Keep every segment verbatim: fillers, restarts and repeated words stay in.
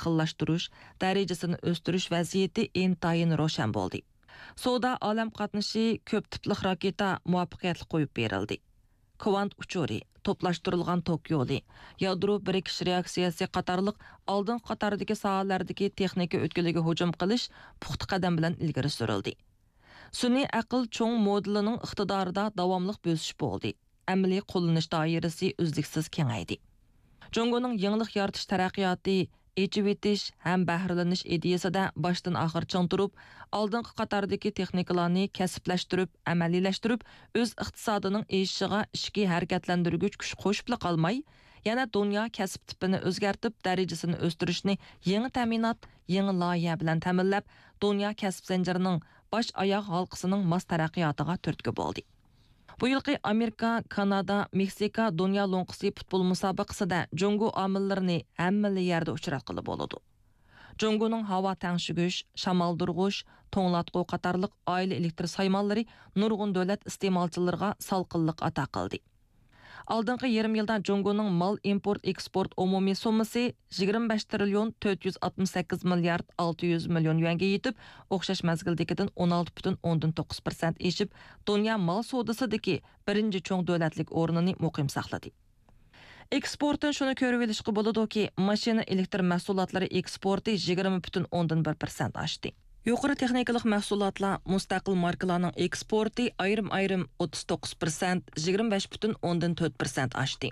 ئىستىقباللاشتۇرۇش، دەرىجىسىنى ئۆستۈرۈش ۋەزىيىتى ئىنتايىن روشەن بولدى. سودا ئالەم قاتنىشى، كۆپ تىپلىق راكېتا مۇۋەپپەقىيەتلىك قويۇپ بېرىلدى. كۋانت ئۇچۇرى، توپلاشتۇرۇلغان توك يولى، يادرو بىرىكىش رېئاكسىيەسى قاتارلىق ئالدىنقى قاتاردىكى ساھەلەردىكى تېخنىكا ئۆتكىلىگە ھۇجۇم قىلىش پۇختا قەدەم بىلەن ئىلگىرى سۈرۈلدى. سۈنئىي ئەقىل چوڭ مودېلىنىڭ ئىقتىدارىدا داۋاملىق بۆسۈش بولدى. ئەمەلىي قوللىنىش دائىرىسى ئۈزلۈكسىز كېڭەيدى. جۇڭگونىڭ يېڭىلىق يارىتىش تەرەققىياتى، ئېچىۋېتىش ھەم بەھرىلىنىش ئىدىيىسىدە باشتىن ئاخىر چىڭ تۇرۇپ، ئالدىنقى قاتاردىكى تېخنىكىلارنى كەسىپلەشتۈرۈپ، ئەمەلىيلەشتۈرۈپ، ئۆز ئىقتىسادىنىڭ ئېشىشىغا ئىچكى ھەرىكەتلەندۈرگۈچ كۈچ قوشۇپلا قالماي، يەنە دۇنيا كەسىپ تىپىنى ئۆزگەرتىپ، دەرىجىسىنى ئۆستۈرۈشنى يېڭى تەمىنات، يېڭى لايىھە بىلەن تەمىنلەپ، دۇنيا كەسىپ زەنجىرىنىڭ باش ئاياغ ھالقىسىنىڭ ماس تەرەققىياتىغا تۈرتكە بولدى. بۇ يىلقى ئامېرىكا، كانادا، مېكسىكا دۇنيا لوڭقىسى پۇتبول مۇسابىقىسىدە جۇڭگو ئامىللىرىنى ھەممىلا يەردە ئۇچراتقىلى بولىدۇ. جۇڭگونىڭ ھاۋا تەڭشىگۈچ، شامالدۇرغۇچ، توڭلاتقۇ قاتارلىق ئائىلە ئېلېكتر سايمانلىرى نۇرغۇن دۆلەت ئىستېمالچىلىرىغا سالقىنلىق ئاتا قىلدى. ئالدىنقى يېرىم يىلدا جۇڭگونىڭ مال ئىمپورت ئېكسپورت ئومۇمىي سوممىسى يىگىرمە بەش تىرىليون تۆت يۈز ئاتمىش سەككىز مىليارد ئالتە يۈز مىليون يۈەنگە يېتىپ، ئوخشاش مەزگىلدىكىدىن ئون ئالتە پۈتۈن ئوندىن توققۇز پىرسەنت ئېشىپ، دۇنيا مال سودىسىدىكى بىرىنچى چوڭ دۆلەتلىك ئورنىنى مۇقىم ساقلىدى. ئېكسپورتتىن شۇنى كۆرۈۋېلىشقا بولىدۇكى، ماشىنا ئېلېكتر مەھسۇلاتلىرى ئېكسپورتى يىگىرمە پۈتۈن ئوندىن بىر پىرسەنت ئاشتى. يۇقىرى تېخنىكىلىق مەھسۇلاتلار، مۇستەقىل ماركىلارنىڭ ئېكسپورتى ئايرىم-ئايرىم ئوتتۇز توققۇز پىرسەنت، يىگىرمە بەش پۈتۈن ئوندىن تۆت پىرسەنت ئاشتى.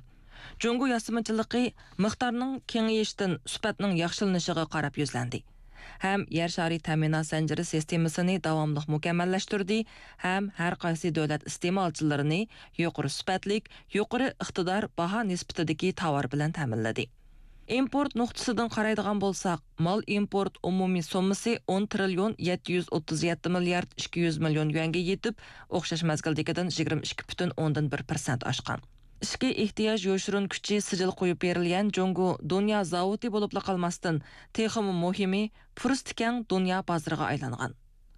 جۇڭگو ياسىمىچىلىقى مىقدارنىڭ كېڭىيىشىدىن سۈپەتنىڭ ياخشىلىنىشىغا قاراپ يۈزلەندى ھەم يەر شارى تەمىنات زەنجىرى سىستېمىسىنى داۋاملىق مۇكەممەللەشتۈردى ھەم ھەر قايسى دۆلەت ئىستېمالچىلىرىنى يۇقىرى سۈپەتلىك، يۇقىرى ئىقتىدار باھا نىسبىتىدىكى تاۋار بىلەن تەمىنلىدى. ئىمپورت نۇقتىسىدىن قارايدىغان بولساق، مال ئىمپورت ئومۇمىي سوممىسى ئون تىرىليون يەتتە يۈز ئوتتۇز يەتتە مىليارد ئىككى يۈز مىليون يۈەنگە يېتىپ، ئوخشاش مەزگىلدىكىدىن يىگىرمە ئىككى پۈتۈن ئوندىن بىر پىرسەنت ئاشقان. ئىچكى ئېھتىياج يوشۇرۇن كۈچى سىجىل قويۇپ بېرىلگەن جۇڭگو دۇنيا زاۋۇتى بولۇپلا قالماستىن، تېخىمۇ مۇھىمى، پۇرسىتى كەڭ دۇنيا بازىرىغا ئايلانغان.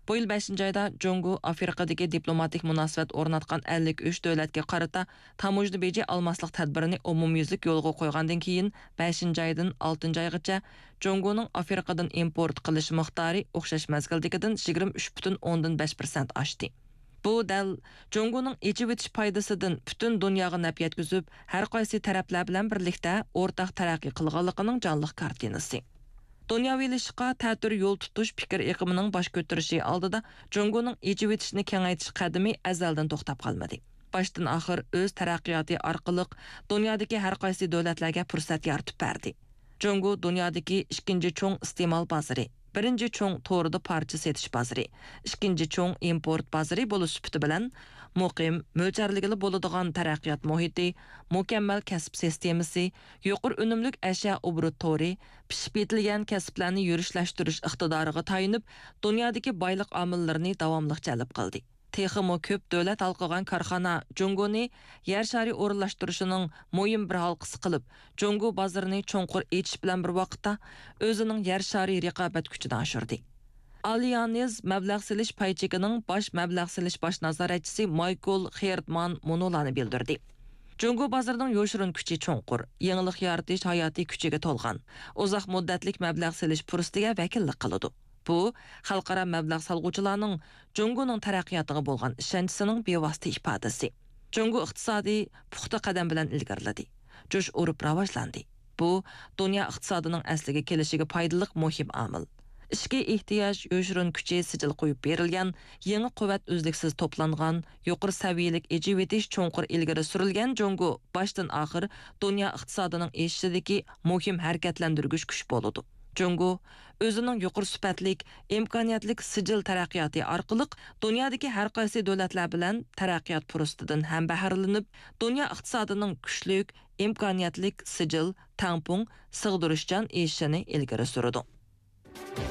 بۇ يىل بەشىنچى ئايدا جۇڭگو ئافرىقىدىكى دىپلوماتىك مۇناسىۋەت ئورناتقان ئەللىك ئۈچ دۆلەتكە قارىتا تاموژنا بېجى ئالماسلىق تەدبىرىنى ئومۇميۈزلۈك يولغا قويغاندىن كېيىن، بەشىنچى ئايدىن ئالتىنچى ئايغىچە جۇڭگونىڭ ئافرىقىدىن ئىمپورت قىلىش مىقدارى ئوخشاش مەزگىلدىكىدىن يىگىرمە ئۈچ پۈتۈن ئوندىن بەش پىرسەنت ئاشتى. بۇ دەل جۇڭگونىڭ ئېچىۋېتىش پايدىسىدىن پۈتۈن دۇنياغا نەپ يەتكۈزۈپ، ھەر قايسى تەرەپلەر بىلەن بىرلىكتە ئورتاق تەرەققىي قىلغانلىقىنىڭ جانلىق كارتىنىسى. دۇنياۋىلىشىشقا تەتۈر يول تۇتۇش پىكىر ئېقىمىنىڭ باش كۆتۈرۈشى ئالدىدا جۇڭگونىڭ ئېچىۋېتىشنى كېڭەيتىش قەدىمى ئەزەلدىن توختاپ قالمىدى. باشتىن ئاخىر ئۆز تەرەققىياتى ئارقىلىق دۇنيادىكى ھەر قايسى دۆلەتلەرگە پۇرسەت يارىتىپ بەردى. جۇڭگو دۇنيادىكى ئىككىنچى چوڭ ئىستېمال بازىرى، بىرىنچى چوڭ توردا پارچە سېتىش بازىرى، ئىككىنچى چوڭ ئىمپورت بازىرى بولۇش سۈپىتى بىلەن، مۇقىم، مۆلچەرلىگىلى بولىدىغان تەرەققىيات مۇھىتى، مۇكەممەل كەسىپ سىستېمىسى، يۇقىرى ئۈنۈملۈك ئەشيا ئوبوروت تورى، پىشىپ يېتىلگەن كەسىپلەرنى يۈرۈشلەشتۈرۈش ئىقتىدارىغا تايىنىپ، دۇنيادىكى بايلىق ئامىللىرىنى داۋاملىق جەلپ قىلدى. تېخىمۇ كۆپ دۆلەت ھالقىغان كارخانا جۇڭگونى يەر شارى ئورۇنلاشتۇرۇشىنىڭ مۇھىم بىر ھالقىسى قىلىپ، جۇڭگو بازىرىنى چوڭقۇر ئېچىش بىلەن بىر ۋاقىتتا، ئۆزىنىڭ يەر شارى رىقابەت كۈچىنى ئاشۇردى. ئاليانز مەبلەغ سېلىش پاي چېكىنىڭ باش مەبلەغ سېلىش باش نازارەتچىسى مايكل خېردمان مۇنۇلارنى بىلدۈردى: جۇڭگو بازىرىنىڭ يوشۇرۇن كۈچى چوڭقۇر، يېڭىلىق يارىتىش ھاياتىي كۈچىگە تولغان، ئۇزاق مۇددەتلىك مەبلەغ سېلىش پۇرسىتىگە ۋەكىللىك قىلىدۇ. بۇ، خەلقئارا مەبلەغ سالغۇچىلارنىڭ جۇڭگونىڭ تەرەققىياتىغا بولغان ئىشەنچىسىنىڭ بىۋاسىتە ئىپادىسى. جۇڭگو ئىقتىسادى پۇختا قەدەم بىلەن ئىلگىرىلىدى، جۇش ئۇرۇپ راۋاجلاندى. بۇ، دۇنيا ئىقتىسادىنىڭ ئەسلىگە كېلىشىگە پايدىلىق مۇھىم ئامىل. ئىچكى ئېھتىياج يوشۇرۇن كۈچى سىجىل قويۇپ بېرىلگەن، يېڭى قۇۋۋەت ئۈزلۈكسىز توپلانغان، يۇقىرى سەۋىيەلىك ئېچىۋېتىش چوڭقۇر ئىلگىرى سۈرۈلگەن جۇڭگو باشتىن ئاخىر دۇنيا ئىقتىسادىنىڭ ئېشىشىدىكى مۇھىم ھەرىكەتلەندۈرگۈچ كۈچ بولىدۇ. جۇڭگو ئۆزىنىڭ يۇقىرى سۈپەتلىك، ئىمكانىيەتلىك سىجىل تەرەققىياتى ئارقىلىق دۇنيادىكى ھەر قايسى دۆلەتلەر بىلەن تەرەققىيات پۇرسىتىدىن ھەم بەھرىلىنىپ، دۇنيا ئىقتىسادىنىڭ كۈچلۈك، ئىمكانىيەتلىك، سىجىل، تەڭپۇڭ، سىغدۇرۇشچان ئېشىشىنى ئىلگىرى سۈرىدۇ.